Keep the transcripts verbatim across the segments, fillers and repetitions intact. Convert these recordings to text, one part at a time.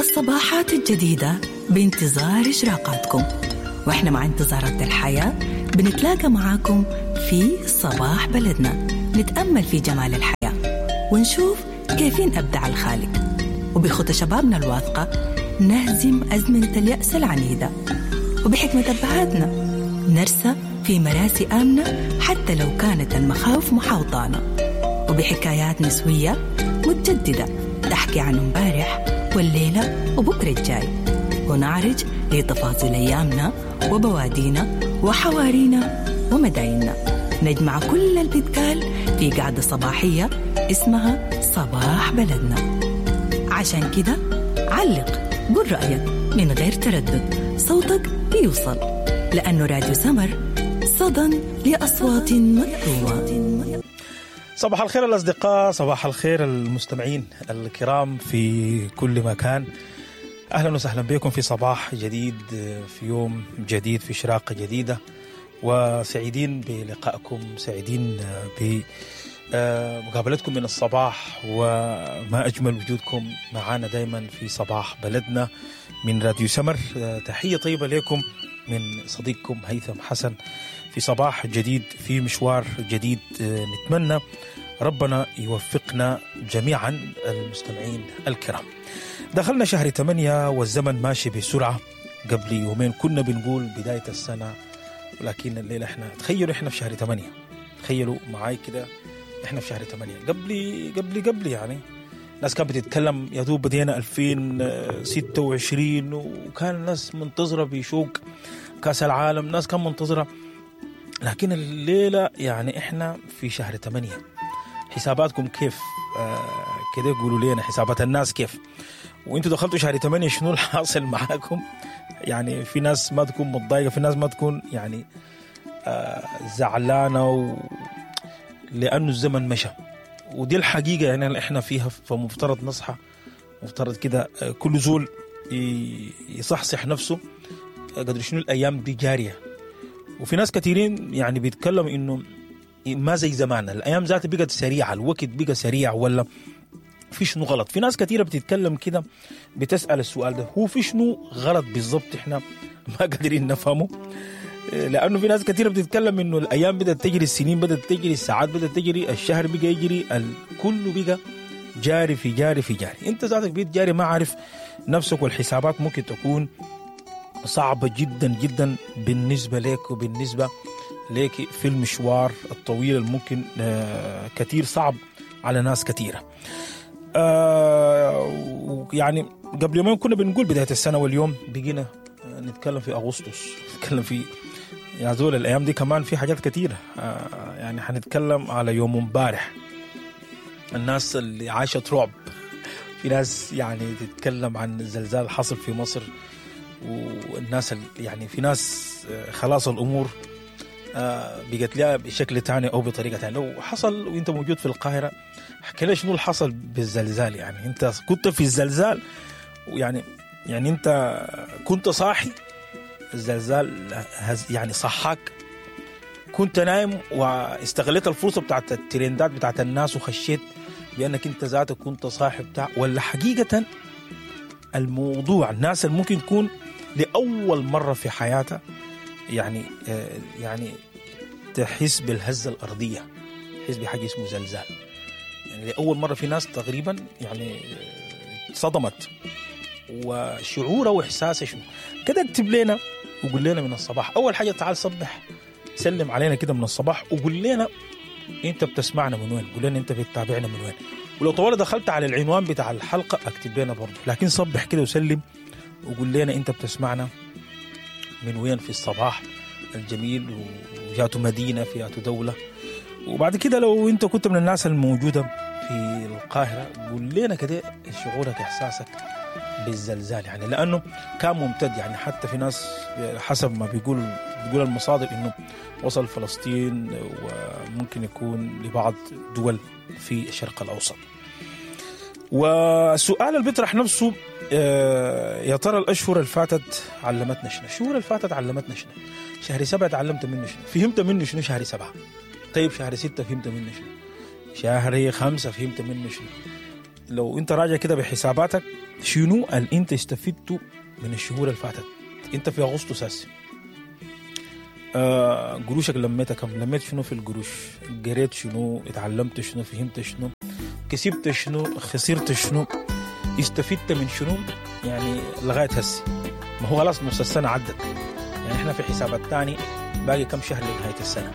الصباحات الجديدة بانتظار إشراقاتكم، وإحنا مع انتظارات الحياة بنتلاقى معاكم في صباح بلدنا، نتأمل في جمال الحياة ونشوف كيفين أبدع الخالق، وبخطى شبابنا الواثقة نهزم أزمنة اليأس العنيدة، وبحكمة أبهاتنا نرسى في مراسي آمنة حتى لو كانت المخاوف محاوطانا، وبحكايات نسوية متجددة تحكي عن امبارح والليلة وبكرة الجاي، ونعرج لتفاصيل أيامنا وبوادينا وحوارينا ومدايننا. نجمع كل البتقال في قعدة صباحية اسمها صباح بلدنا. عشان كده علق، قل رأيك من غير تردد، صوتك بيوصل، لأنه راديو سمر صدى لأصوات مكتومة. صباح الخير الأصدقاء، صباح الخير المستمعين الكرام في كل مكان. أهلا وسهلا بكم في صباح جديد، في يوم جديد، في إشراقة جديدة، وسعيدين بلقائكم، سعيدين بمقابلتكم من الصباح، وما أجمل وجودكم معنا دايما في صباح بلدنا من راديو سمر. تحية طيبة لكم من صديقكم هيثم حسن في صباح جديد، في مشوار جديد. نتمنى ربنا يوفقنا جميعا المستمعين الكرام. دخلنا شهر ثمانية والزمن ماشي بسرعة. قبل يومين كنا بنقول بداية السنة، ولكن الليلة احنا تخيلوا احنا في شهر ثمانية. تخيلوا معاي كده احنا في شهر ثمانية. قبل قبل قبل يعني ناس كانت بتتكلم يا دوب بدينا ألفين وستة وعشرين، وكان الناس منتظرة بشوق كاس العالم، ناس كان منتظرة. لكن الليلة يعني احنا في شهر ثمانية. حساباتكم كيف؟ آه كده قولوا لنا حسابات الناس كيف، وانتوا دخلتوا شهر ثمانية شنو الحاصل معاكم؟ يعني في ناس ما تكون متضايقة، في ناس ما تكون يعني آه زعلانة و... لأنه الزمن مشى، ودي الحقيقة يعني اللي احنا فيها. فمفترض نصحى، مفترض كده كل زول يصحصح نفسه قدر شنو الأيام دي جارية. وفي ناس كثيرين يعني بيتكلموا إنه ما زي زمان، الأيام ذاتها بقت سريعة، الوقت بقى سريع، ولا في شنو غلط؟ في ناس كثيرة بتتكلم كده، بتسأل السؤال ده، هو في شنو غلط بالضبط احنا ما قادرين نفهمه؟ لأنه في ناس كثيرة بتتكلم إنه الأيام بدأت تجري، السنين بدأت تجري، الساعات بدأت تجري، الشهر بقى يجري، الكل بقى جاري في جاري في جاري. أنت ذاتك بقيت جاري، ما عارف نفسك، والحسابات ممكن تكون صعبة جدا جدا بالنسبة لك وبالنسبة لك في المشوار الطويل الممكن كثير صعب على ناس كثيرة. آه يعني قبل يومين كنا بنقول بداية السنة، واليوم بقينا نتكلم في أغسطس، نتكلم في يا زول الأيام دي كمان في حاجات كثيرة. آه يعني حنتكلم على يوم امبارح، الناس اللي عاشت رعب، في ناس يعني تتكلم عن الزلزال حصل في مصر، والناس يعني في ناس خلاص الأمور بقت لها بشكل تاني أو بطريقة تانية. لو حصل وانت موجود في القاهرة، احكي لي شنو اللي حصل بالزلزال. يعني انت كنت في الزلزال، ويعني يعني انت كنت صاحي، الزلزال يعني صحاك، كنت نايم واستغلت الفرصة بتاعت الترندات بتاعت الناس وخشيت بأنك انت ذاتك كنت صاحي بتاع، ولا حقيقة الموضوع الناس اللي ممكن تكون لأول مرة في حياتها يعني يعني تحس بالهزة الأرضية، تحس بحاجة اسمه زلزال. يعني لأول مرة في ناس تقريبا يعني صدمت، وشعوره وإحساسه شنو كده. اكتب لنا وقول لنا من الصباح. أول حاجة تعال صبح، سلم علينا كده من الصباح وقول لنا أنت بتسمعنا من وين، قول لنا أنت بتتابعنا من وين، ولو طوال دخلت على العنوان بتاع الحلقة اكتب لنا برضه. لكن صبح كده وسلم وقول لنا أنت بتسمعنا من وين في الصباح الجميل، وجاته مدينة في جاته دولة. وبعد كده لو أنت كنت من الناس الموجودة في القاهرة قول لنا كده شعورك إحساسك بالزلزال، يعني لأنه كان ممتد. يعني حتى في ناس حسب ما بيقول بيقول المصادر إنه وصل فلسطين، وممكن يكون لبعض دول في الشرق الأوسط. والسؤال اللي بيطرح نفسه، يا ترى الأشهر اللي فاتت علمتنا شنو؟ الشهور اللي فاتت علمتنا شنو؟ شهر سبعة تعلمت منه شنو؟ فهمت منه شنو شهر سبعة؟ طيب شهر ستة فهمت منه شنو؟ شهر خمسة فهمت منه شنو؟ لو انت راجع كده بحساباتك شنو اللي انت استفدته من الشهور اللي فاتت؟ انت في اغسطس هسه آه قروشك لميتها كم؟ لميت شنو في القروش؟ قريت شنو؟ اتعلمت شنو؟ فهمت شنو؟ كسبت شنو؟ خسرت شنو؟ استفدت من شنو؟ يعني لغاية هسه ما هو خلاص نص السنة عدت، يعني احنا في حساب الثاني باقي كم شهر لنهاية السنة،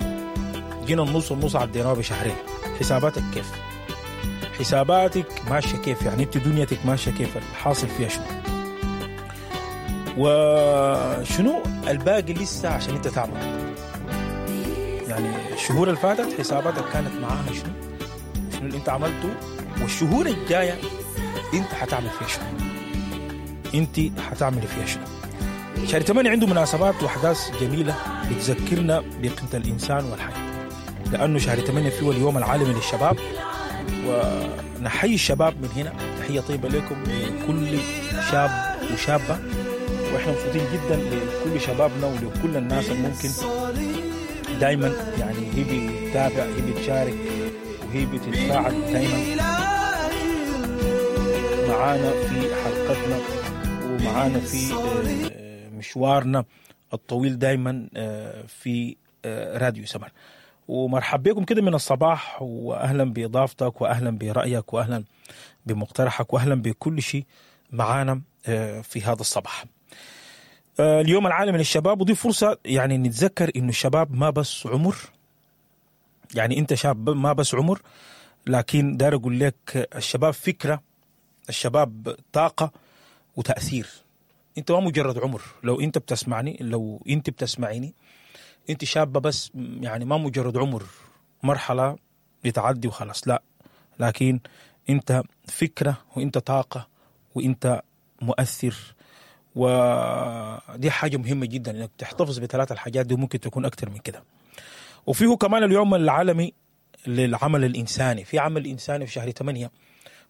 جينا النص والنص عديناه بشهرين. حساباتك كيف؟ حساباتك ماشية كيف؟ يعني انت دنيتك ماشية كيف؟ الحاصل فيها شنو؟ وشنو الباقي لسه عشان انت تعمل؟ يعني الشهور اللي فاتت حساباتك كانت معاها شنو؟ شنو اللي انت عملته؟ والشهور الجاية انت حتعمل فيها شنو؟ انت حتعمل فيها شنو؟ شهر ثمانية عنده مناسبات واحداث جميلة بتذكرنا بقيمة الإنسان والحياة، لأنه شهر ثمانية فيه اليوم العالمي للشباب، ونحيي الشباب من هنا، تحية طيبة لكم لكل شاب وشابة، وإحنا مبسوطين جدا لكل شبابنا ولكل الناس اللي ممكن دايما يعني هي بتتابع، هي بتشارك، وهي بتتفاعل دايما معانا في حلقتنا ومعانا في مشوارنا الطويل دايما في راديو سمر. ومرحب بكم كده من الصباح، واهلا باضافتك واهلا برايك واهلا بمقترحك واهلا بكل شيء معانا في هذا الصباح. اليوم العالمي للشباب، ودي فرصة يعني نتذكر انه الشباب ما بس عمر، يعني انت شاب ما بس عمر، لكن دار اقول لك الشباب فكرة، الشباب طاقة وتاثير. انت ما مجرد عمر، لو انت بتسمعني، لو انت بتسمعيني، انت شابة بس يعني ما مجرد عمر، مرحلة بتعدي وخلاص، لا، لكن انت فكرة وانت طاقة وانت مؤثر، ودي حاجة مهمة جدا انك تحتفظ بثلاث الحاجات دي، وممكن تكون اكتر من كده. وفيه كمان اليوم العالمي للعمل الانساني، في عمل انساني في شهر ثمانية،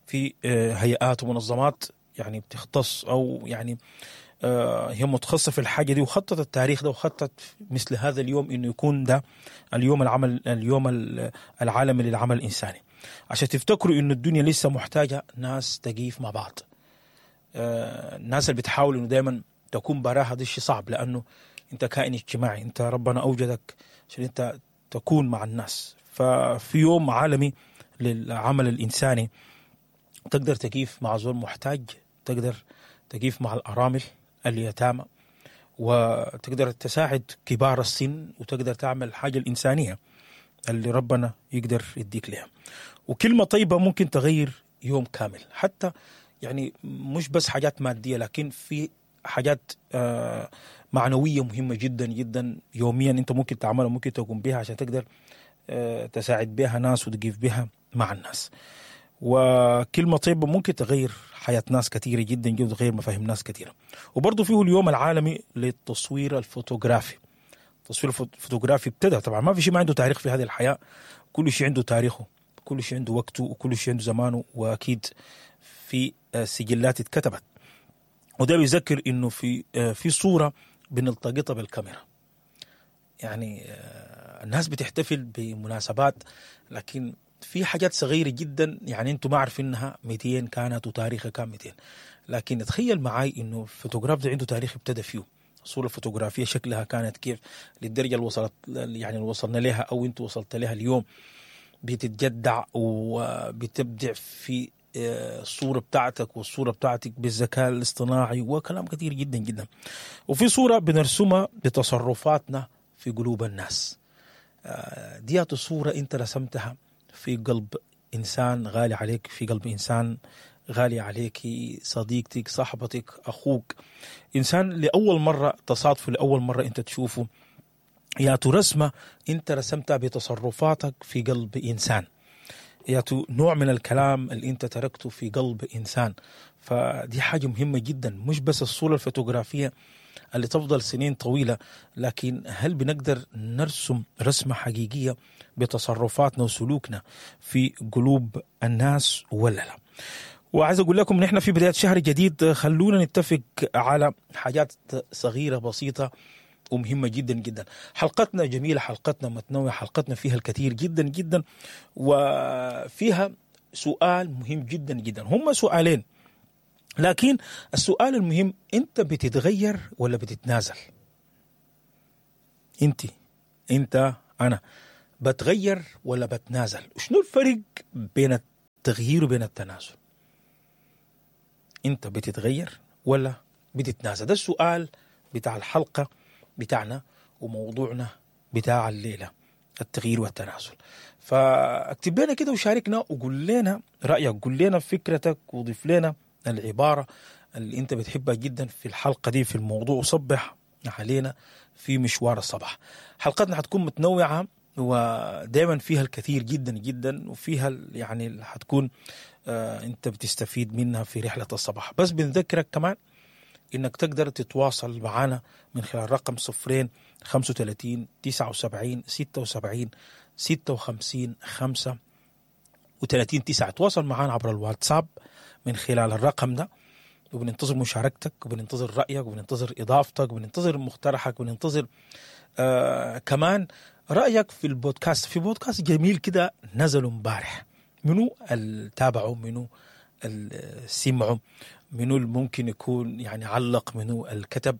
في هيئات ومنظمات يعني بتختص او يعني هي متخصصة في الحاجة دي، وخطط التاريخ ده وخطط مثل هذا اليوم انه يكون ده اليوم العمل، اليوم العالمي للعمل الانساني، عشان تفتكروا انه الدنيا لسه محتاجة ناس تقيف مع بعض. الناس اللي بتحاول انه دايما تكون براها، ده شيء صعب، لانه انت كائن اجتماعي، انت ربنا اوجدك عشان انت تكون مع الناس. ففي يوم عالمي للعمل الانساني تقدر تقيف مع زول محتاج، تقدر تقيف مع الأرامل اليتامى، وتقدر تساعد كبار السن، وتقدر تعمل الحاجة الإنسانية اللي ربنا يقدر يديك لها. وكلمة طيبة ممكن تغير يوم كامل، حتى يعني مش بس حاجات مادية، لكن في حاجات معنوية مهمة جدا جدا يوميا انت ممكن تعملها، ممكن تقوم بها عشان تقدر تساعد بها ناس وتقيف بها مع الناس. وكلمة طيبة ممكن تغير حياة ناس كثيرة جدا جدا، وتغير مفاهيم ناس كثيرة. وبرضه فيه اليوم العالمي للتصوير الفوتوغرافي. التصوير الفوتوغرافي ابتدى، طبعا ما في شيء ما عنده تاريخ في هذه الحياة، كل شيء عنده تاريخه، كل شيء عنده وقته، وكل شيء عنده زمانه، وأكيد في سجلات اتكتبت. وده بيذكر إنه في في صورة بنلتقطها بالكاميرا. يعني الناس بتحتفل بمناسبات، لكن في حاجات صغيرة جدا يعني انتم ما عارفينها مئتين كانت وتاريخها كان مئتين، لكن تخيل معي انه الفوتوغراف ده عنده تاريخ ابتدى فيه، الصورة الفوتوغرافية شكلها كانت كيف للدرجة اللي وصلت، يعني اللي وصلنا لها او انتم وصلت لها اليوم، بتتجدع وبتبدع في الصورة بتاعتك والصورة بتاعتك بالذكاء الاصطناعي وكلام كثير جدا جدا. وفي صورة بنرسمها بتصرفاتنا في قلوب الناس، ديات الصورة انت رسمتها في قلب إنسان غالي عليك، في قلب إنسان غالي عليك، صديقتك، صاحبتك، أخوك، إنسان لأول مرة تصادفه، لأول مرة أنت تشوفه، يا رسمة أنت رسمتها بتصرفاتك في قلب إنسان، يا نوع من الكلام اللي أنت تركته في قلب إنسان. فدي حاجة مهمة جدا، مش بس الصورة الفوتوغرافية اللي تفضل سنين طويلة، لكن هل بنقدر نرسم رسمة حقيقية بتصرفاتنا وسلوكنا في قلوب الناس ولا لا؟ وعايز أقول لكم نحن في بداية شهر جديد، خلونا نتفق على حاجات صغيرة بسيطة ومهمة جدا جدا. حلقتنا جميلة، حلقتنا متنوعة، حلقتنا فيها الكثير جدا جدا، وفيها سؤال مهم جدا جدا، هم سؤالين، لكن السؤال المهم انت بتتغير ولا بتتنازل؟ انت انت انا بتغير ولا بتنازل؟ شنو الفرق بين التغيير وبين التنازل؟ انت بتتغير ولا بتتنازل؟ ده السؤال بتاع الحلقة بتاعنا وموضوعنا بتاع الليلة، التغيير والتنازل. فاكتب لنا كده وشاركنا وقول لنا رأيك، قول لنا فكرتك، وضيف لنا العبارة اللي انت بتحبها جدا في الحلقة دي في الموضوع، وصبح علينا في مشوار الصباح. حلقتنا حتكون متنوعة ودائما فيها الكثير جدا جدا، وفيها يعني حتكون آه انت بتستفيد منها في رحلة الصباح. بس بنذكرك كمان انك تقدر تتواصل معنا من خلال رقم صفرين خمسة وثلاثين تسعة وسبعين ستة وسبعين ستة وخمسين خمسة وثلاثين تسعة. تواصل معنا عبر الواتساب من خلال الرقم ده، وبننتظر مشاركتك، وبننتظر رأيك، وبننتظر إضافتك، وبننتظر مقترحك، وبننتظر آه كمان رأيك في البودكاست. في بودكاست جميل كده نزلوا امبارح، منو اللي تابعوا، منو اللي سمعوا، منو اللي ممكن يكون يعني علق، منو الكتب.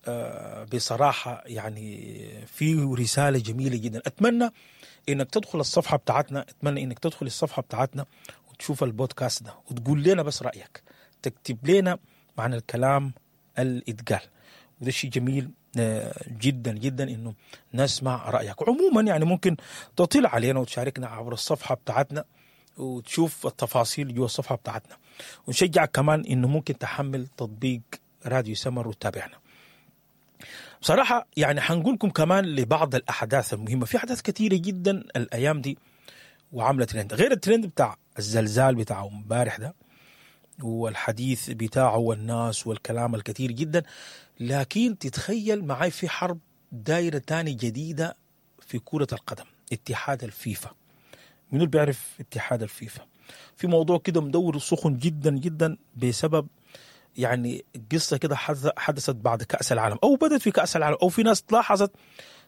آه بصراحة يعني في رسالة جميلة جدا. أتمنى إنك تدخل الصفحة بتاعتنا، أتمنى إنك تدخل الصفحة بتاعتنا وتشوف البودكاست ده وتقول لنا بس رأيك، تكتب لنا معنى الكلام الإتقال، وده شيء جميل جدا جدا إنه نسمع رأيك. عموما يعني ممكن تطلع علينا وتشاركنا عبر الصفحة بتاعتنا وتشوف التفاصيل جوا الصفحة بتاعتنا، ونشجعك كمان إنه ممكن تحمل تطبيق راديو سمر وتتابعنا. بصراحة يعني حنقولكم كمان لبعض الأحداث المهمة، في أحداث كثيرة جدا الأيام دي وعاملة ترند، غير الترند بتاع الزلزال بتاع امبارح ده والحديث بتاعه والناس والكلام الكثير جدا، لكن تتخيل معي في حرب دايرة تاني جديدة في كرة القدم، اتحاد الفيفا. منو اللي بيعرف اتحاد الفيفا؟ في موضوع كده مدور سخن جدا جدا بسبب يعني قصة كده حدثت بعد كأس العالم، أو بدت في كأس العالم، أو في ناس لاحظت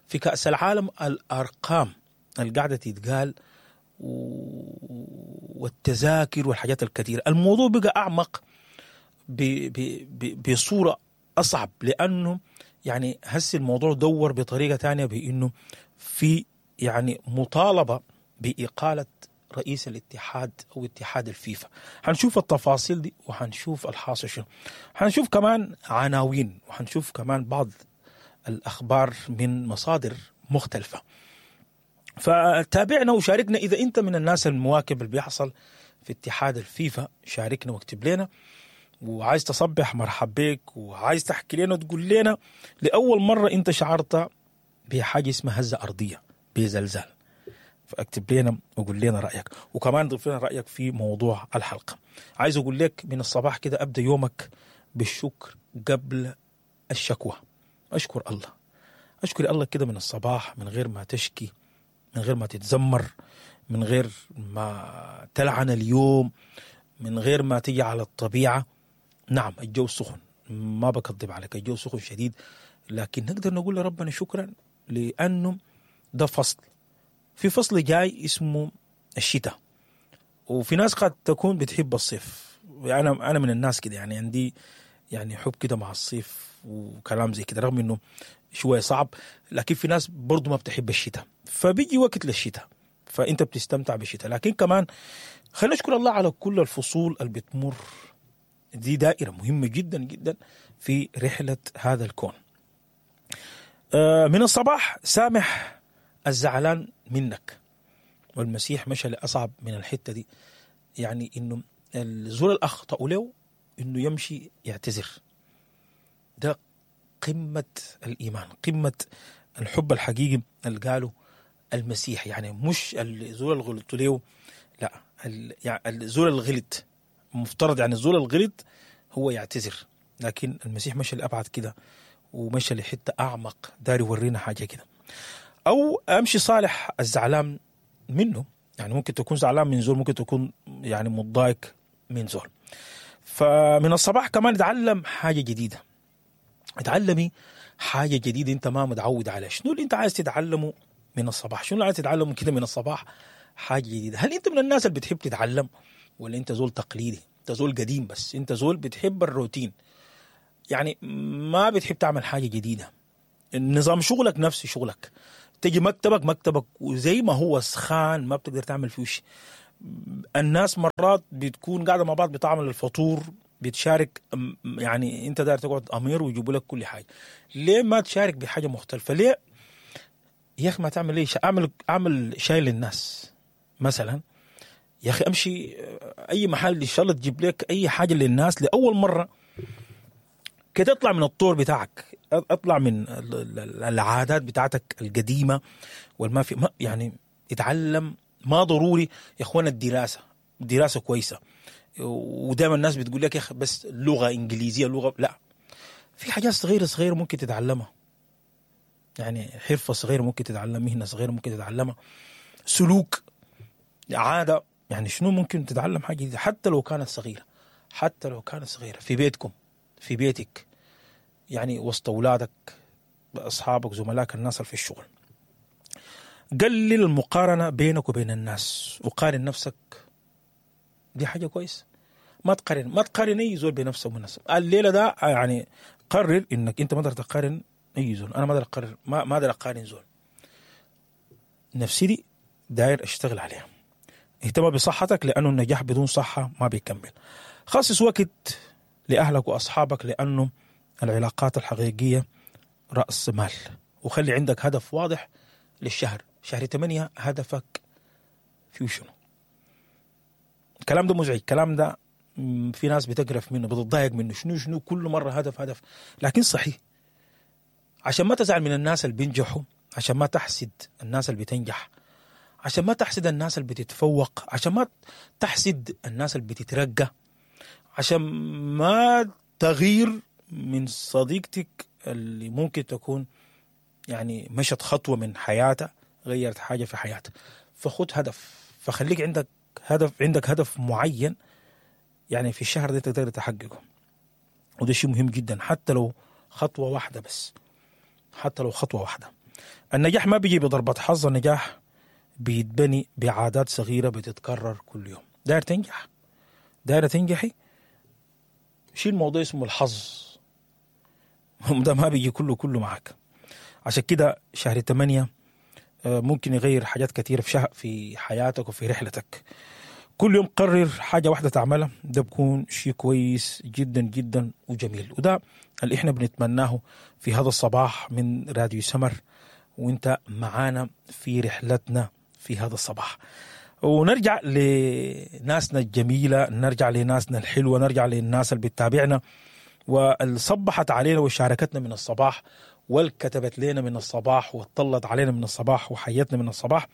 في كأس العالم الأرقام اللي قاعدة تتقال والتذاكر والحاجات الكثيرة. الموضوع بقى أعمق بصورة أصعب، لأنه يعني هسي الموضوع دور بطريقة تانية، بأنه في يعني مطالبة بإقالة رئيس الاتحاد أو اتحاد الفيفا. هنشوف التفاصيل دي وهنشوف الحاصل شنو، هنشوف كمان عناوين، وهنشوف كمان بعض الأخبار من مصادر مختلفة. فتابعنا وشاركنا إذا أنت من الناس المواكب اللي بيحصل في اتحاد الفيفا، شاركنا واكتب لنا. وعايز تصبح مرحب بك، وعايز تحكي لنا وتقول لنا لأول مرة أنت شعرت بحاجة اسمها هزة أرضية، بزلزال، فاكتب لنا وقول لنا رأيك، وكمان ضيف لنا رأيك في موضوع الحلقة. عايز أقول لك من الصباح كده أبدأ يومك بالشكر قبل الشكوى. أشكر الله، أشكر الله كده من الصباح، من غير ما تشكي، من غير ما تتذمر، من غير ما تلعن اليوم، من غير ما تيجي على الطبيعة. نعم الجو سخن، ما بكذب عليك، الجو سخن شديد، لكن نقدر نقول لربنا شكرا، لأنه ده فصل، في فصل جاي اسمه الشتاء، وفي ناس قد تكون بتحب الصيف. أنا أنا من الناس كده، يعني عندي يعني حب كده مع الصيف وكلام زي كده، رغم إنه شوية صعب، لكن في ناس برضو ما بتحب الشتاء، فبيجي وقت للشتاء فأنت بتستمتع بالشتاء. لكن كمان خلينا نشكر الله على كل الفصول اللي بتمر دي، دائرة مهمة جدا جدا في رحلة هذا الكون. من الصباح سامح الزعلان منك، والمسيح مشى لأصعب من الحتة دي، يعني إنه الزول الأخطأ له إنه يمشي يعتذر. ده قمة الإيمان، قمة الحب الحقيقي اللي قاله المسيح. يعني مش الزول الغلط له، لا، يعني الزول الغلط مفترض يعني الزول الغلط هو يعتذر، لكن المسيح مشى لأبعد كده ومشى لحتة أعمق، داري يورينا حاجة كده. أو أمشي صالح الزعلان منه، يعني ممكن تكون زعلان من زول، ممكن تكون يعني متضايق من زول. فمن الصباح كمان اتعلم حاجة جديدة، اتعلمي حاجة جديدة انت ما متعود عليها. شنو اللي انت عايز تتعلمه من الصباح؟ شنو اللي عايز تتعلمه كده من الصباح؟ حاجة جديدة. هل انت من الناس اللي بتحب تتعلم ولا انت زول تقليدي؟ انت زول قديم، بس انت زول بتحب الروتين، يعني ما بتحب تعمل حاجة جديدة. النظام شغلك نفس شغلك، تجي مكتبك مكتبك وزي ما هو سخان ما بتقدر تعمل فيه شيء. الناس مرات بتكون قاعدة مع بعض بتعمل الفطور، بتشارك، يعني انت داير تقعد امير ويجيبوا لك كل حاجة. ليه ما تشارك بحاجة مختلفة؟ ليه يا اخي ما تعمل ليه؟ اعمل اعمل شاي للناس مثلا يا اخي، امشي اي محل ان شاء الله تجيب لك اي حاجة للناس لاول مرة كده. اطلع من الطور بتاعك، اطلع من العادات بتاعتك القديمة والما في، ما يعني اتعلم. ما ضروري يا اخوانا الدراسة، الدراسة كويسة، ودائما الناس بتقول لك يا اخي بس لغة انجليزية لغة، لا، في حاجات صغيرة صغيرة ممكن تتعلمها، يعني حرفه صغيرة ممكن تتعلم، مهنة صغيرة ممكن تتعلمها، سلوك، عادة، يعني شنو ممكن تتعلم حاجة جديدة حتى لو كانت صغيرة، حتى لو كانت صغيرة في بيتكم، في بيتك، يعني وسط اولادك، اصحابك، زملائك، الناس اللي في الشغل. قلل المقارنة بينك وبين الناس وقارن نفسك، دي حاجة كويسة. ما تقارن، ما تقارن اي زول بنفسه وبنفسه. الليلة ده يعني قرر انك انت ما تقدر تقارن اي زول. انا ما اقدر اقارن، ما ما اقدر اقارن زول. نفسي دي داير اشتغل عليها. اهتم بصحتك لانه النجاح بدون صحة ما بيكمل. خصص وقت لاهلك واصحابك لانه العلاقات الحقيقية راس مال. وخلي عندك هدف واضح للشهر، شهر ثمانية هدفك فيه شنو؟ الكلام ده مزعج، الكلام ده في ناس بتقرف منه، بتتضايق منه، شنو شنو كل مرة هدف هدف، لكن صحيح. عشان ما تزعل من الناس اللي بينجحوا، عشان ما تحسد الناس اللي بتنجح، عشان ما تحسد الناس اللي بتتفوق، عشان ما تحسد الناس اللي بتترقى، عشان ما تغير من صديقتك اللي ممكن تكون يعني مشت خطوة من حياتها، غيرت حاجة في حياتها. فخد هدف، فخليك عندك هدف، عندك هدف معين يعني في الشهر ده تقدر تحققه، وده شيء مهم جدا، حتى لو خطوة واحدة بس، حتى لو خطوة واحدة. النجاح ما بيجي بضربة حظ، النجاح بيتبني بعادات صغيرة بتتكرر كل يوم. داير تنجح، دايرة تنجحي، شيل موضوع اسمه الحظ ده ما بيجي كله كله معك. عشان كده شهر ثمانية ممكن يغير حاجات كثيرة في شهر في حياتك وفي رحلتك. كل يوم قرر حاجة واحدة تعملها، ده بكون شيء كويس جدا جدا وجميل، وده اللي احنا بنتمناه في هذا الصباح من راديو سمر، وانت معانا في رحلتنا في هذا الصباح. ونرجع لناسنا الجميلة، نرجع لناسنا الحلوة، نرجع للناس اللي بتتابعنا واللي صبحت علينا وشاركتنا من الصباح والكتبت لنا من الصباح وطلت علينا من الصباح وحيتنا من الصباح.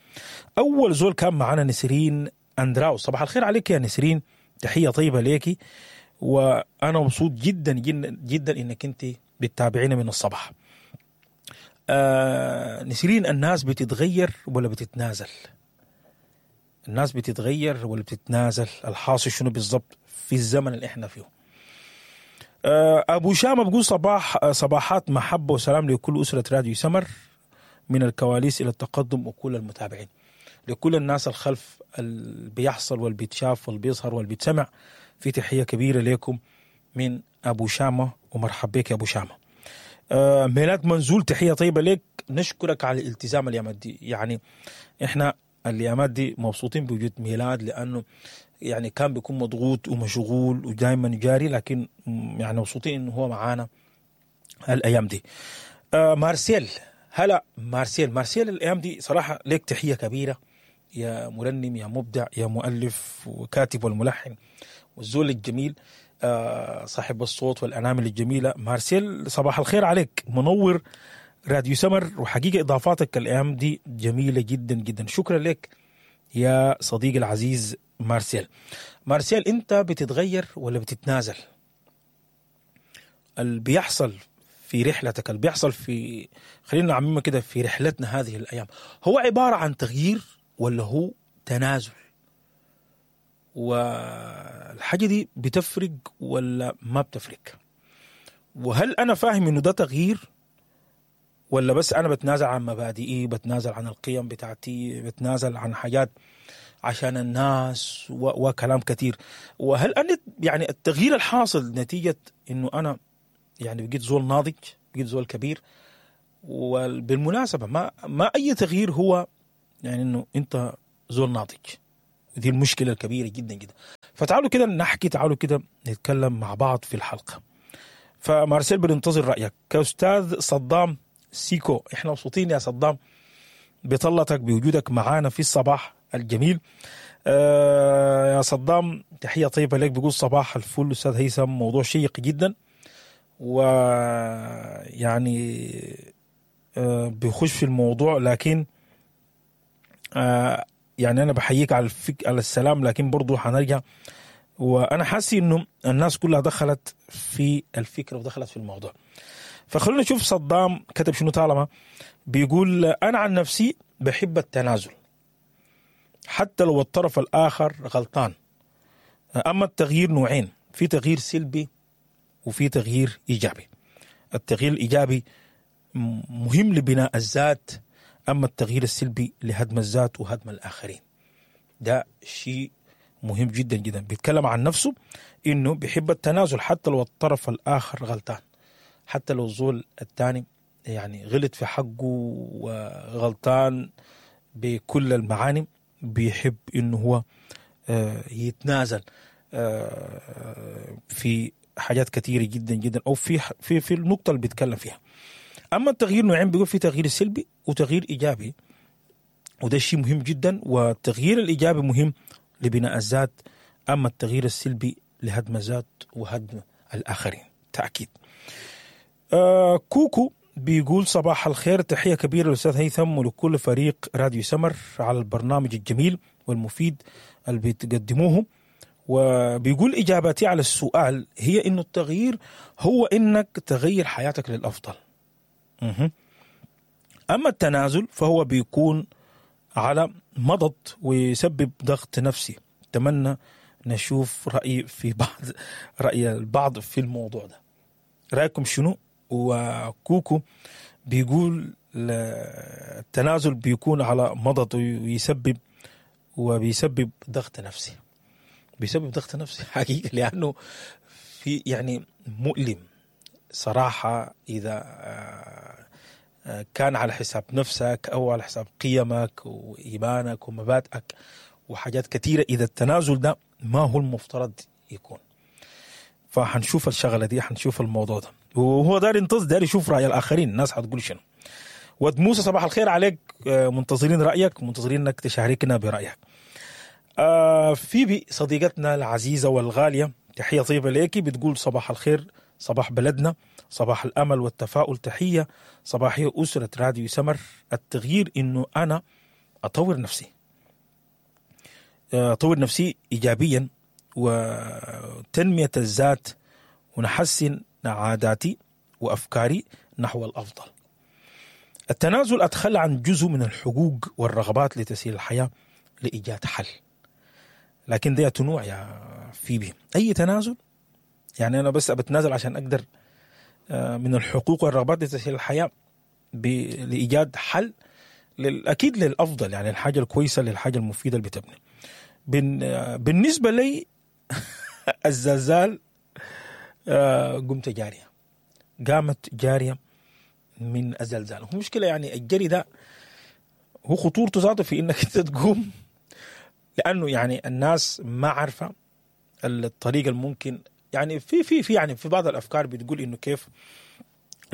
أول زول كان معنا نسرين أندراو، صباح الخير عليك يا نسرين، تحية طيبة ليكي، وأنا مبسوط جدا جدا جدا إنك أنت بتتابعينا من الصباح. آه نسرين، الناس بتتغير ولا بتتنازل؟ الناس بتتغير ولا بتتنازل؟ الحاصل شنو بالضبط في الزمن اللي احنا فيه؟ أبو شامة بقول صباح صباحات محبة وسلام لكل أسرة راديو سمر، من الكواليس إلى التقدم وكل المتابعين، لكل الناس الخلف اللي بيحصل واللي بيتشاف واللي بيظهر واللي بيتسمع. في تحية كبيرة لكم من أبو شامة، ومرحب بك يا أبو شامة. ميلاد منزول، تحية طيبة لك، نشكرك على الالتزام اليامات دي. يعني إحنا اليامات دي مبسوطين بوجود ميلاد، لأنه يعني كان بيكون مضغوط ومشغول ودائما جاري، لكن يعني مبسوطين انه هو معانا الايام دي. آه مارسيل، هلا مارسيل، مارسيل الايام دي صراحة لك تحية كبيرة يا مرنم، يا مبدع، يا مؤلف وكاتب والملحن والزول الجميل، آه صاحب الصوت والانامل الجميلة. مارسيل صباح الخير عليك، منور راديو سمر، وحقيقة اضافاتك الايام دي جميلة جدا جدا. شكرا لك يا صديقي العزيز مارسيل. مارسيل، انت بتتغير ولا بتتنازل؟ اللي بيحصل في رحلتك، اللي بيحصل في، خلينا نعممها كده، في رحلتنا هذه الايام، هو عبارة عن تغيير ولا هو تنازل؟ والحاجة دي بتفرق ولا ما بتفرق؟ وهل انا فاهم انه ده تغيير ولا بس انا بتنازل عن مبادئي، بتنازل عن القيم بتاعتي، بتنازل عن حاجات عشان الناس و... وكلام كثير. وهل انا يعني التغيير الحاصل نتيجة انه انا يعني بقيت زول ناضج، بقيت زول كبير؟ وبالمناسبة ما ما اي تغيير هو يعني انه انت زول ناضج. دي المشكلة الكبيرة جدا جدا. فتعالوا كده نحكي، تعالوا كده نتكلم مع بعض في الحلقة. فمارسيل بننتظر رايك. كاستاذ صدام سيكو، احنا مبسوطين يا صدام بطلتك، بوجودك معانا في الصباح الجميل. آه يا صدام تحية طيبة لك. بيقول صباح الفل استاذ هيثم، موضوع شيق جدا، ويعني آه بيخش في الموضوع، لكن آه يعني انا بحييك على الفك... على السلام، لكن برضو حنرجع. وانا حاسس انه الناس كلها دخلت في الفكرة ودخلت في الموضوع. فخلونا نشوف صدام كتب شنو. طالما بيقول انا عن نفسي بحب التنازل حتى لو الطرف الاخر غلطان. اما التغيير نوعين، في تغيير سلبي وفي تغيير ايجابي. التغيير الايجابي مهم لبناء الذات، اما التغيير السلبي لهدم الذات وهدم الاخرين. ده شيء مهم جدا جدا. بيتكلم عن نفسه انه بيحب التنازل حتى لو الطرف الاخر غلطان، حتى لو الزول الثاني يعني غلط في حقه وغلطان بكل المعاني، بيحب انه هو يتنازل في حاجات كثيرة جدا جدا، او في في في النقطة اللي بيتكلم فيها. اما التغيير نوعين، بيقول في تغيير سلبي وتغيير ايجابي، وده شيء مهم جدا. والتغيير الايجابي مهم لبناء الذات، اما التغيير السلبي لهدم الذات وهدم الاخرين تاكيد. آه كوكو بيقول صباح الخير، تحية كبيرة للأستاذ هيثم ولكل فريق راديو سمر على البرنامج الجميل والمفيد اللي بتقدموه. وبيقول إجابتي على السؤال هي إنه التغيير هو إنك تغير حياتك للأفضل. مه. أما التنازل فهو بيكون على مضض ويسبب ضغط نفسي. أتمنى نشوف رأي في بعض رأي البعض في الموضوع ده. رأيكم شنو؟ وكوكو بيقول التنازل بيكون على مضض ويسبب وبيسبب ضغط نفسي. بيسبب ضغط نفسي حقيقة، لأنه في يعني مؤلم صراحة إذا كان على حساب نفسك أو على حساب قيمك وإيمانك ومبادئك وحاجات كثيرة. إذا التنازل ده ما هو المفترض يكون. فحنشوف الشغلة دي، حنشوف الموضوع ده، وهو داري ينتظر، داري يشوف رأي الآخرين، الناس حتقول شنو. ود موسى صباح الخير عليك، منتظرين رأيك، منتظرين انك تشاركنا برأيك. آه فيبي صديقتنا العزيزة والغالية، تحية طيبة ليكي، بتقول صباح الخير، صباح بلدنا، صباح الأمل والتفاؤل، تحية صباحية أسرة راديو سمر. التغيير إنه أنا أطور نفسي، أطور نفسي إيجابيا وتنمية الذات، ونحسن عاداتي وأفكاري نحو الأفضل. التنازل أتخلى عن جزء من الحقوق والرغبات لتسهيل الحياة لإيجاد حل. لكن ده تنوع يا فيبي، أي تنازل؟ يعني أنا بس بتنازل عشان أقدر من الحقوق والرغبات لتسهيل الحياة لإيجاد حل، أكيد للأفضل، يعني الحاجة الكويسة، للحاجة المفيدة اللي بتبني. بالنسبة لي الزلزال قمت جارية، قامت جارية من الزلزال. هو مشكلة يعني الجري ده هو خطورته ذاته في إنك أنت تقوم، لأنه يعني الناس ما عارفة الطريقة الممكن. يعني في في في يعني في بعض الأفكار بتقول إنه كيف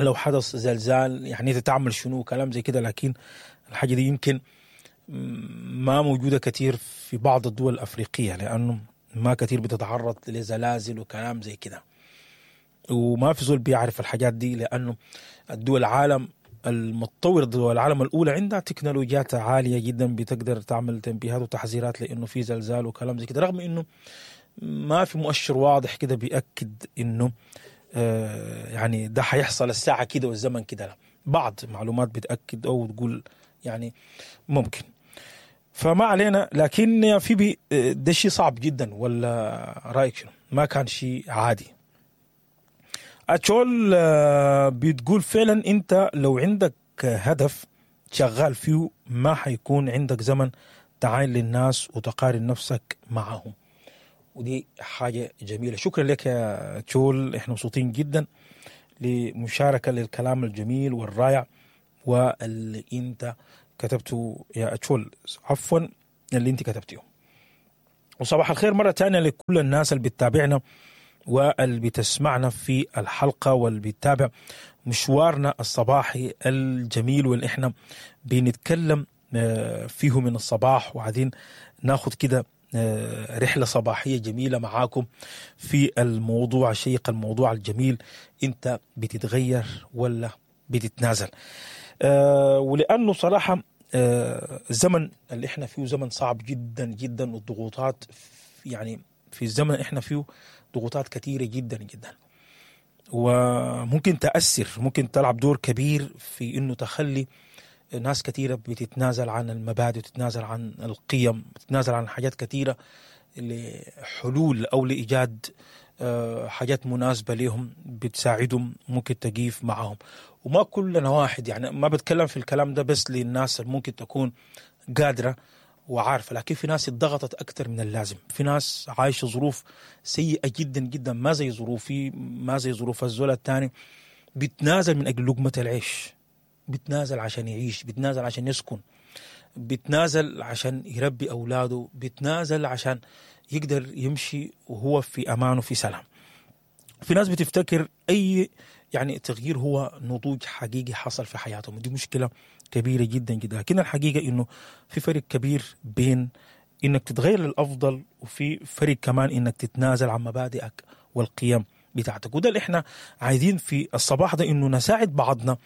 لو حدث زلزال يعني أنت تعمل شنو كلام زي كده، لكن الحاجة دي يمكن ما موجودة كثير في بعض الدول الأفريقية، لأنه ما كثير بتتعرض لزلازل وكلام زي كده، وما في زول بيعرف الحاجات دي، لأنه الدول العالم المتطورة، دول العالم الأولى عندها تكنولوجيات عالية جدا بتقدر تعمل تنبيهات وتحذيرات لأنه في زلزال وكلام زي كده، رغم إنه ما في مؤشر واضح كده بيأكد إنه آه يعني ده حيحصل الساعة كده والزمن كده، لا، بعض معلومات بتأكد أو تقول يعني ممكن. فما علينا، لكن يا فيبي ده شيء صعب جدا، ولا رأيك شنو؟ ما كان شيء عادي. أتشول بتقول فعلا أنت لو عندك هدف شغال فيه ما حيكون عندك زمن تعاين للناس وتقارن نفسك معهم. ودي حاجة جميلة. شكرا لك يا تشول، احنا مبسوطين جدا لمشاركة للكلام الجميل والرائع واللي انت كتبته يا تشول، عفوا اللي انت كتبته. وصباح الخير مرة تانية لكل الناس اللي بتتابعنا واللي بتسمعنا في الحلقة واللي بتتابع مشوارنا الصباحي الجميل واللي احنا بنتكلم فيه من الصباح، وعايزين ناخد كده رحلة صباحية جميلة معاكم في الموضوع الشيق، الموضوع الجميل، انت بتتغير ولا بتتنازل؟ ولأنه صراحة الزمن اللي احنا فيه زمن صعب جدا جدا، والضغوطات يعني في الزمن اللي احنا فيه ضغوطات كثيرة جدا جدا، وممكن تأثر، ممكن تلعب دور كبير في انه تخلي ناس كثيرة بتتنازل عن المبادئ، وتتنازل عن القيم، تتنازل عن حاجات كثيرة لحلول أو لإيجاد حاجات مناسبة لهم بتساعدهم، ممكن تقيف معهم. وما كلنا واحد، يعني ما بتكلم في الكلام ده بس للناس اللي ممكن تكون قادرة وعارفة، لكن في ناس اتضغطت أكثر من اللازم، في ناس عايشة ظروف سيئة جدا جدا، ما زي ظروفي، ما زي ظروف الزول الثاني، بتنازل من أجل لقمة العيش، بتنازل عشان يعيش، بتنازل عشان يسكن، بتنازل عشان يربي أولاده، بتنازل عشان يقدر يمشي وهو في أمان وفي سلام. في ناس بتفتكر أي يعني تغيير هو نضوج حقيقي حصل في حياتهم، ودي مشكلة كبيرة جدا جدا. لكن الحقيقة إنه في فرق كبير بين إنك تتغير للأفضل، وفي فرق كمان إنك تتنازل عن مبادئك والقيم بتاعتك. وده اللي احنا عايزين في الصباح ده، انه نساعد بعضنا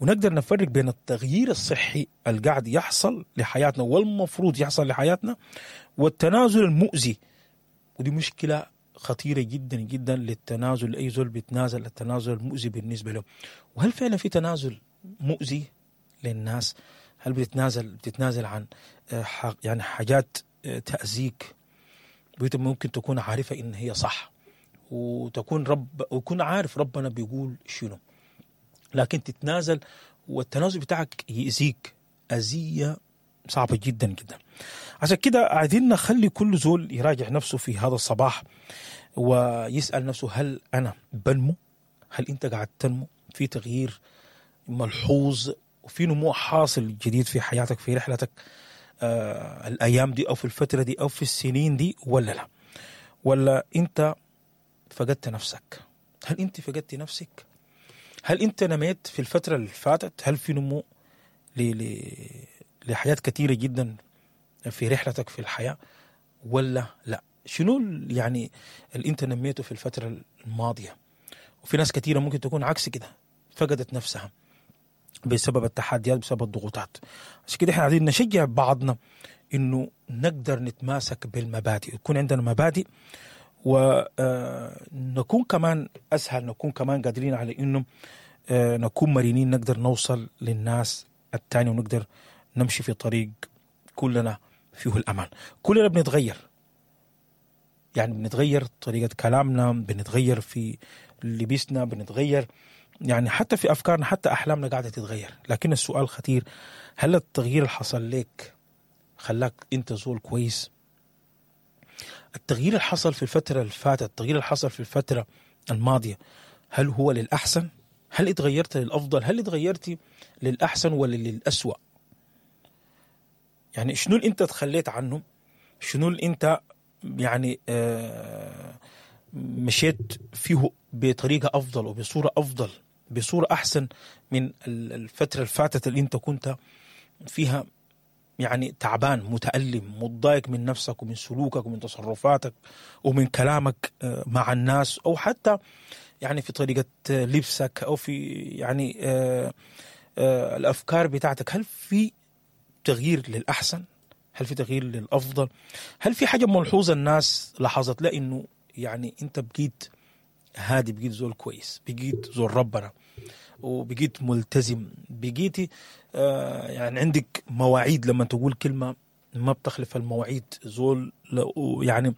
ونقدر نفرق بين التغيير الصحي اللي قاعد يحصل لحياتنا والمفروض يحصل لحياتنا، والتنازل المؤذي. ودي مشكلة خطيرة جدا جدا للتنازل، لأي زول بيتنازل، التنازل المؤذي بالنسبة له. وهل فعلا في تنازل مؤذي للناس؟ هل بتتنازل بتتنازل عن يعني حاجات تأذيك ممكن تكون عارفة إن هي صح، وتكون رب ويكون عارف ربنا بيقول شنو، لكن تتنازل، والتنازل بتاعك يأذيك أذية صعبة جدا جدا. عشان كده عايزين نخلي كل زول يراجع نفسه في هذا الصباح ويسأل نفسه، هل أنا بنمو؟ هل أنت قاعد تنمو؟ في تغيير ملحوظ وفي نمو حاصل جديد في حياتك، في رحلتك آه الأيام دي أو في الفترة دي أو في السنين دي، ولا لا؟ ولا أنت فقدت نفسك؟ هل أنت فقدت نفسك؟ هل أنت نميت في الفترة اللي فاتت؟ هل في نمو ل... ل... لحياة كثيرة جدا في رحلتك في الحياة ولا لا؟ شنو يعني اللي أنت نميته في الفترة الماضية؟ وفي ناس كثيرة ممكن تكون عكس كده، فقدت نفسها بسبب التحديات، بسبب الضغوطات. عشان كده احنا عايزين نشجع بعضنا إنه نقدر نتماسك بالمبادئ، يكون عندنا مبادئ، ونكون كمان أسهل، نكون كمان قادرين على إنه نكون مرنين، نقدر نوصل للناس التاني ونقدر نمشي في طريق كلنا فيه الأمان. كلنا بنتغير، يعني بنتغير طريقة كلامنا، بنتغير في لبسنا، بنتغير يعني حتى في أفكارنا، حتى أحلامنا قاعدة تتغير. لكن السؤال خطير، هل التغيير اللي حصل لك خلاك أنت زول كويس؟ التغيير اللي حصل في الفترة اللي فاتت، التغيير اللي حصل في الفترة الماضية، هل هو للأحسن؟ هل اتغيرت للأفضل؟ هل اتغيرتي للأحسن ولا للأسوأ؟ يعني شنو اللي انت تخليت عنه؟ شنو اللي انت يعني آه مشيت فيه بطريقة أفضل وبصورة أفضل، بصورة أحسن من الفترة اللي فاتت اللي انت كنت فيها يعني تعبان، متألم، متضايق من نفسك ومن سلوكك ومن تصرفاتك ومن كلامك مع الناس، أو حتى يعني في طريقة لبسك، أو في يعني آه آه الأفكار بتاعتك. هل في تغيير للأحسن؟ هل في تغيير للأفضل؟ هل في حاجة ملحوظة الناس لاحظت لا إنه يعني أنت بقيت هادي، بقيت زول كويس، بقيت زول ربنا، وبقيت ملتزم، بقيتي آه يعني عندك مواعيد، لما تقول كلمة ما بتخلف المواعيد، زول يعني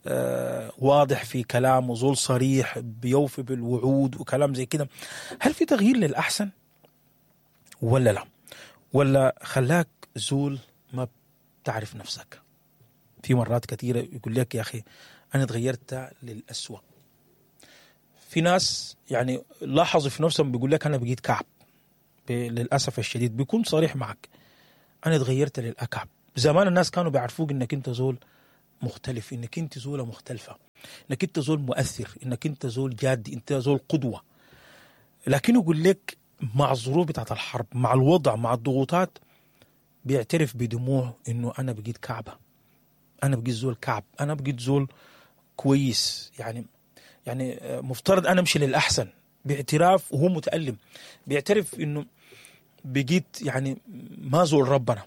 آه واضح في كلامه، زول صريح، بيوفي بالوعود وكلام زي كده. هل في تغيير للأحسن ولا لا؟ ولا خلاك زول ما بتعرف نفسك؟ في مرات كثيرة يقول لك يا أخي أنا تغيرت للأسوأ. في ناس يعني لاحظوا في نفسهم بيقول لك أنا بقيت كعب، للأسف الشديد بيكون صريح معك، أنا تغيرت للأكعب. زمان الناس كانوا بيعرفوك إنك أنت زول مختلف، إنك أنت زولة مختلفة، إنك أنت زول مؤثر، إنك أنت زول جادي، أنت زول قدوة. لكن يقول لك مع الظروف بتاعت الحرب، مع الوضع، مع الضغوطات، بيعترف بدموعه إنه أنا بقيت كعبة، أنا بقيت زول كعب، أنا بقيت زول كويس، يعني يعني مفترض أنا أمشي للأحسن. باعتراف وهو متألم، بيعترف إنه بقيت يعني ما زول ربنا،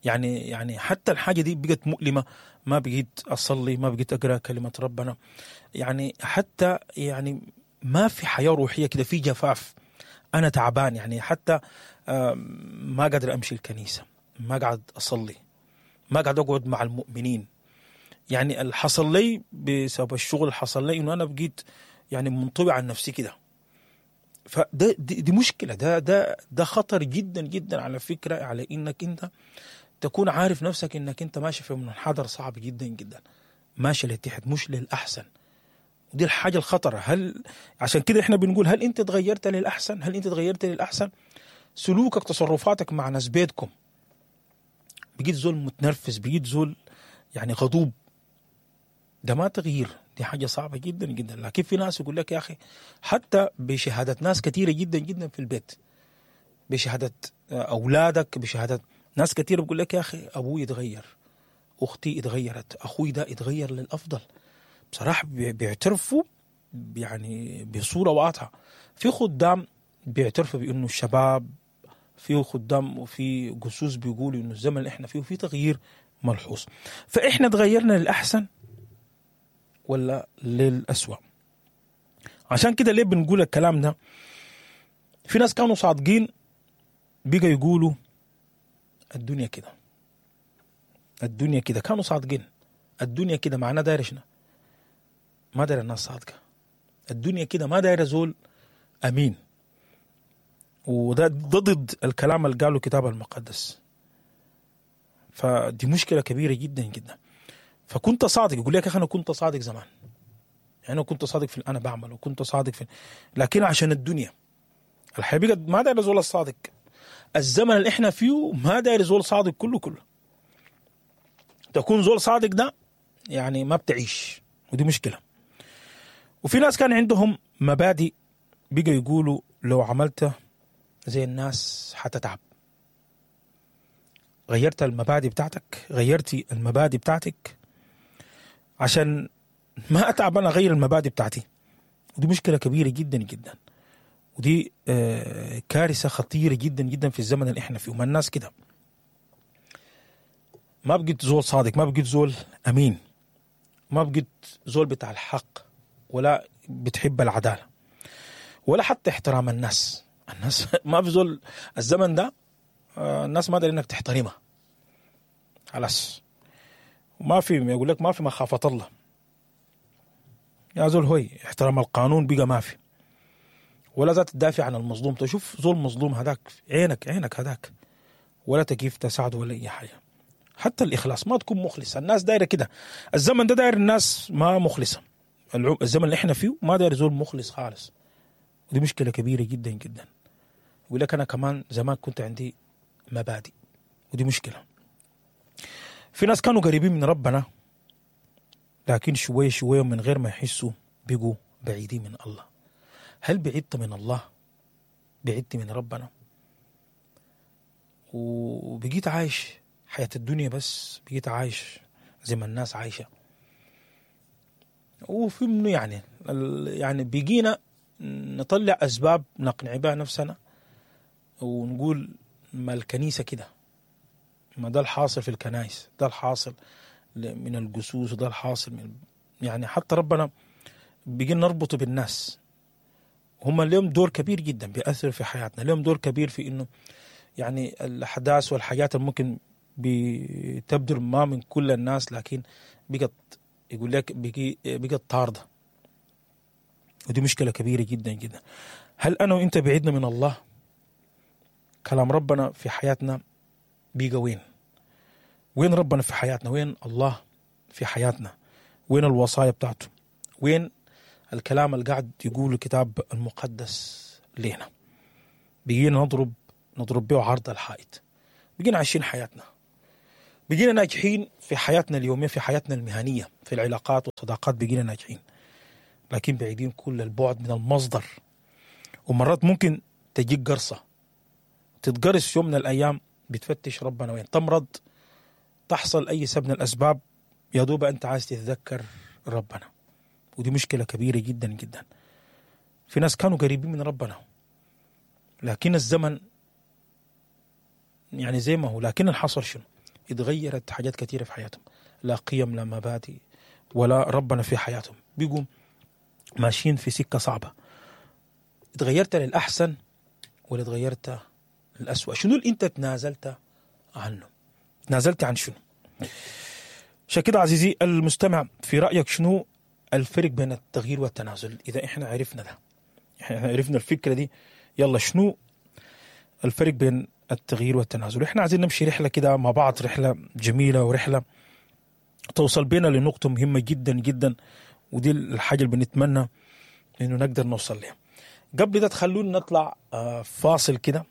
يعني يعني حتى الحاجة دي بقت مؤلمة، ما بقيت أصلي، ما بقيت أقرأ كلمة ربنا، يعني حتى يعني ما في حياة روحية كده، في جفاف، أنا تعبان، يعني حتى ما قادر أمشي الكنيسة، ما قاعد أصلي، ما قاعد أقعد مع المؤمنين. يعني اللي حصل لي بسبب الشغل اللي حصل لي إنه أنا بقيت يعني منطوي عن نفسي كده. فده دي, دي مشكلة، ده ده ده خطر جدا جدا على فكرة، على إنك أنت تكون عارف نفسك إنك أنت ماشي في منحدر صعب جدا جدا، ماشي لتحت مش للأحسن. ودي الحاجة الخطرة. هل عشان كده إحنا بنقول هل أنت تغيرت للأحسن؟ هل أنت تغيرت للأحسن؟ سلوكك، تصرفاتك مع ناس بيتكم، بقيت زول متنرفز، بقيت زول يعني غضوب، ده ما تغيير، دي حاجة صعبة جدا جدا. لكن في ناس يقول لك يا أخي حتى بشهادة ناس كثيرة جدا جدا في البيت، بشهادة أولادك، بشهادة ناس كثيرة، بيقول لك يا أخي أبوي اتغير، أختي اتغيرت، أخوي ده اتغير للأفضل. بصراحة بيعترفوا يعني بصورة واضحة. في خدام بيعترفوا بأنه الشباب، في خدام وفي جسوس بيقولوا إنه الزمن اللي إحنا فيه في تغيير ملحوظ. فإحنا تغيرنا للأحسن ولا للأسوأ؟ عشان كده ليه بنقول الكلام ده؟ في ناس كانوا صادقين بقى يقولوا الدنيا كده، الدنيا كده، كانوا صادقين، الدنيا كده، معناه داير شنو؟ ما داير الناس صادقة، الدنيا كده، ما داير زول أمين. وده ضد الكلام اللي قاله الكتاب المقدس. فدي مشكلة كبيرة جدا جدا. فكنت صادق، يقول لك يا أخي أنا كنت صادق زمان، يعني أنا كنت صادق في اللي أنا بعمله، وكنت صادق في، لكن عشان الدنيا الحقيقة ما داير زول الصادق. الزمن اللي إحنا فيه ما داير زول صادق كله كله. تكون زول صادق ده يعني ما بتعيش، ودي مشكلة. وفي ناس كان عندهم مبادئ بقى يقولوا لو عملت زي الناس حتتعب. غيرت المبادئ بتاعتك، غيرتي المبادئ بتاعتك عشان ما أتعب أنا أغير المبادئ بتاعتي. ودي مشكلة كبيرة جدا جدا، ودي كارثة خطيرة جدا جدا في الزمن اللي احنا فيه. وما الناس كده ما بقيت زول صادق، ما بقيت زول أمين، ما بقيت زول بتاع الحق، ولا بتحب العدالة، ولا حتى احترام الناس. الناس ما في زول الزمن ده الناس ما داري انك تحترمها خلاص. ما في، يقول لك ما في مخافة الله يا زول، هوي احترام القانون بقى ما في، ولا ذات تدافع عن المظلوم. تشوف زول مظلوم هذاك عينك عينك هذاك، ولا تكيف تساعده ولا اي حاجة. حتى الإخلاص ما تكون مخلص. الناس دايرة كده، الزمن ده داير الناس ما مخلصة. الزمن اللي احنا فيه ما داير زول مخلص خالص، ودي مشكلة كبيرة جدا جدا. يقول لك أنا كمان زمان كنت عندي مبادئ، ودي مشكلة. في ناس كانوا قريبين من ربنا، لكن شوية شوية من غير ما يحسوا بقوا بعيدين من الله. هل بعدت من الله؟ بعدت من ربنا وبقيت عايش حياة الدنيا بس، بقيت عايش زي ما الناس عايشة. وفي منه يعني يعني بقينا نطلع أسباب نقنع بها نفسنا ونقول ما الكنيسة كده، ما ده الحاصل في الكنائس، ده الحاصل من الجسوس، وده الحاصل من يعني حتى ربنا بقينا نربطه بالناس. هم لهم دور كبير جدا بيأثر في حياتنا، لهم دور كبير في إنه يعني الأحداث والحاجات اللي ممكن بتبدر ما من كل الناس، لكن بقت يقول لك بقي بقت طاردة، ودي مشكلة كبيرة جدا جدا. هل أنا وإنت بعدنا من الله؟ كلام ربنا في حياتنا بيقى وين؟ وين ربنا في حياتنا؟ وين الله في حياتنا؟ وين الوصايا بتاعته؟ وين الكلام اللي قاعد يقوله الكتاب المقدس لينا؟ بقينا نضرب نضرب به عرض الحائط. بقينا عايشين حياتنا، بقينا ناجحين في حياتنا اليومية، في حياتنا المهنية، في العلاقات والصداقات بقينا ناجحين، لكن بعيدين كل البعد من المصدر. ومرات ممكن تجيك قرصة، تتقرص يوم من الأيام، بتفتش ربنا وين، تمرض، تحصل أي سبب من الأسباب، يا دوب أنت عايز تتذكر ربنا. ودي مشكلة كبيرة جدا جدا. في ناس كانوا قريبين من ربنا، لكن الزمن يعني زي ما هو، لكن الحصل شنو؟ اتغيرت حاجات كثيرة في حياتهم، لا قيم لا مبادئ ولا ربنا في حياتهم، بيقوم ماشيين في سكة صعبة. اتغيرت للأحسن ولا اتغيرت للأسوأ؟ شنو اللي انت تنازلت عنه؟ تنازلت عن شنو؟ عشان كده عزيزي المستمع، في رأيك شنو الفرق بين التغيير والتنازل؟ إذا إحنا عرفنا ده، إحنا عرفنا الفكرة دي، يلا شنو الفرق بين التغيير والتنازل؟ إحنا عايزين نمشي رحلة كده مع بعض، رحلة جميلة ورحلة توصل بينا لنقطة مهمة جدا جدا، ودي الحاجة اللي بنتمنى إنه نقدر نوصل لها. قبل ده تخلونا نطلع فاصل كده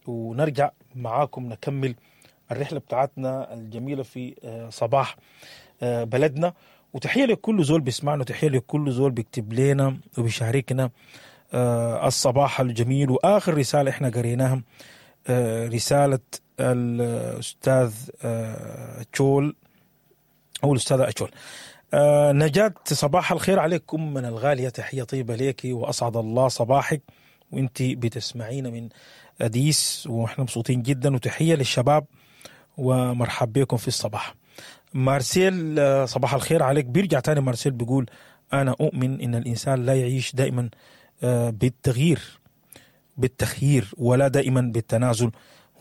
ونرجع معاكم نكمل الرحلة بتاعتنا الجميلة في صباح بلدنا. وتحية لكل زول بيسمعنا، وتحية لكل زول بيكتب لنا وبيشاركنا الصباح الجميل. وآخر رسالة احنا قريناها رسالة الأستاذ أتشول أو الأستاذة أتشول. نجاة، صباح الخير عليكم من الغالية، تحية طيبة ليك وأسعد الله صباحك وانت بتسمعينا من أديس، وإحنا مبسوطين جدا. وتحية للشباب ومرحب بكم في الصباح. مارسيل، صباح الخير عليك. بيرجع تاني مارسيل بيقول أنا أؤمن إن الإنسان لا يعيش دائما بالتغيير بالتخيير ولا دائما بالتنازل.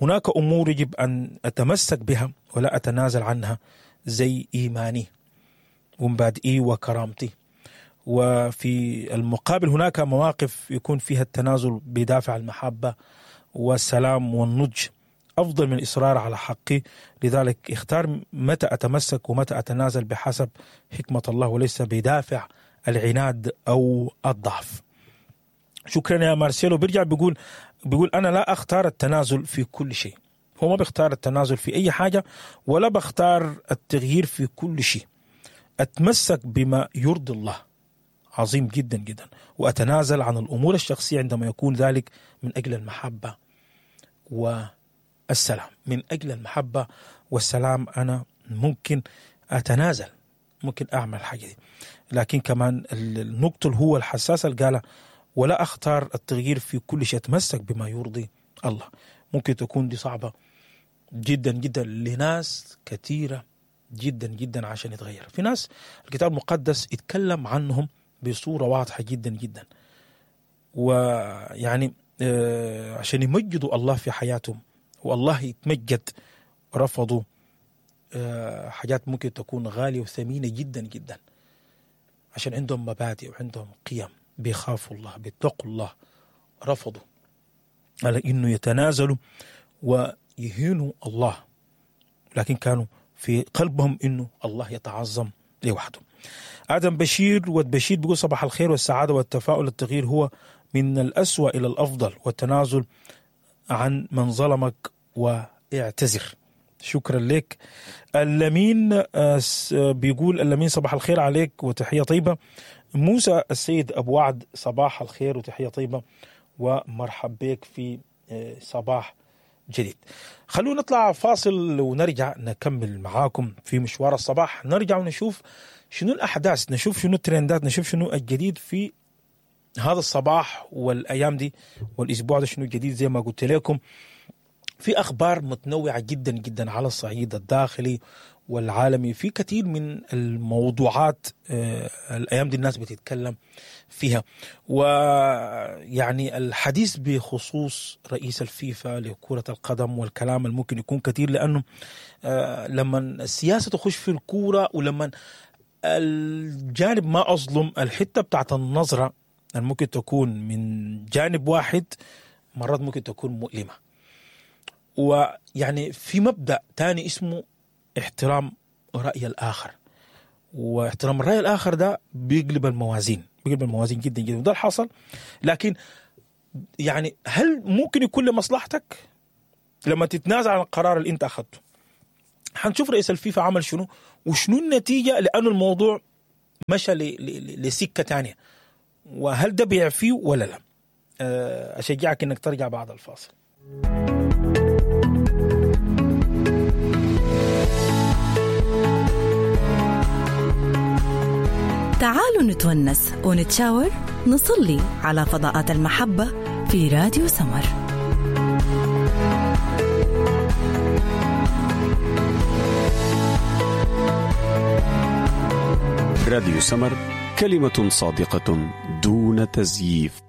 هناك أمور يجب أن أتمسك بها ولا أتنازل عنها، زي إيماني ومبادئي وكرامتي. وفي المقابل هناك مواقف يكون فيها التنازل بدافع المحبة والسلام والنضج أفضل من الإصرار على حقي. لذلك اختار متى أتمسك ومتى أتنازل بحسب حكمة الله وليس بدافع العناد أو الضعف. شكرا يا مارسيلو. بيرجع بيقول بيقول أنا لا أختار التنازل في كل شيء. هو ما بيختار التنازل في أي حاجة ولا بختار التغيير في كل شيء. أتمسك بما يرضي الله، عظيم جدا جدا، وأتنازل عن الأمور الشخصية عندما يكون ذلك من أجل المحبة والسلام. من أجل المحبة والسلام أنا ممكن أتنازل، ممكن أعمل الحاجة دي. لكن كمان النقطة اللي هو الحساسة اللي قالها ولا أختار التغيير في كل شيء، أتمسك بما يرضي الله. ممكن تكون دي صعبة جدا جدا لناس كثيرة جدا جدا عشان يتغير. في ناس الكتاب المقدس يتكلم عنهم بصورة واضحة جدا جدا، ويعني عشان يمجدوا الله في حياتهم والله يتمجد، رفضوا حاجات ممكن تكون غالية وثمينة جدا جدا، عشان عندهم مبادئ وعندهم قيم، بيخافوا الله، بيتقوا الله، رفضوا على إنه يتنازلوا ويهينوا الله، لكن كانوا في قلبهم إنه الله يتعظم لوحده. آدم بشير والبشير بيقول صباح الخير والسعادة والتفاؤل. التغيير هو من الأسوأ إلى الأفضل، والتنازل عن من ظلمك واعتذر. شكرا لك. اللمين بيقول اللمين صباح الخير عليك وتحية طيبة. موسى السيد أبو وعد صباح الخير وتحية طيبة ومرحب بك في صباح جديد. خلونا نطلع فاصل ونرجع نكمل معاكم في مشوار الصباح. نرجع ونشوف شنو الأحداث، نشوف شنو الترندات، نشوف شنو الجديد في هذا الصباح والأيام دي والأسبوع ده، شنو الجديد. زي ما قلت لكم في أخبار متنوعة جدا جدا على الصعيد الداخلي والعالمي، في كثير من الموضوعات الأيام دي الناس بتتكلم فيها. ويعني الحديث بخصوص رئيس الفيفا لكرة القدم والكلام الممكن يكون كثير، لأنه لما السياسة تخش في الكورة ولما الجانب ما أظلم الحتة بتاعت النظرة ممكن تكون من جانب واحد، مرات ممكن تكون مؤلمة. ويعني في مبدا تاني اسمه احترام راي الاخر، واحترام الراي الاخر ده بيقلب الموازين، بيقلب الموازين جدا جدا، وده اللي حصل. لكن يعني هل ممكن يكون لمصلحتك لما تتنازع عن القرار اللي انت اخذته؟ حنشوف رئيس الفيفا عمل شنو وشنو النتيجة، لانه الموضوع مشى لسكه ثانية، وهل ده بيعفيه ولا لا؟ اشجعك انك ترجع بعد الفاصل. تعالوا نتونس ونتشاور، نصلي على فضاءات المحبة في راديو سمر. راديو سمر، كلمة صادقة دون تزييف.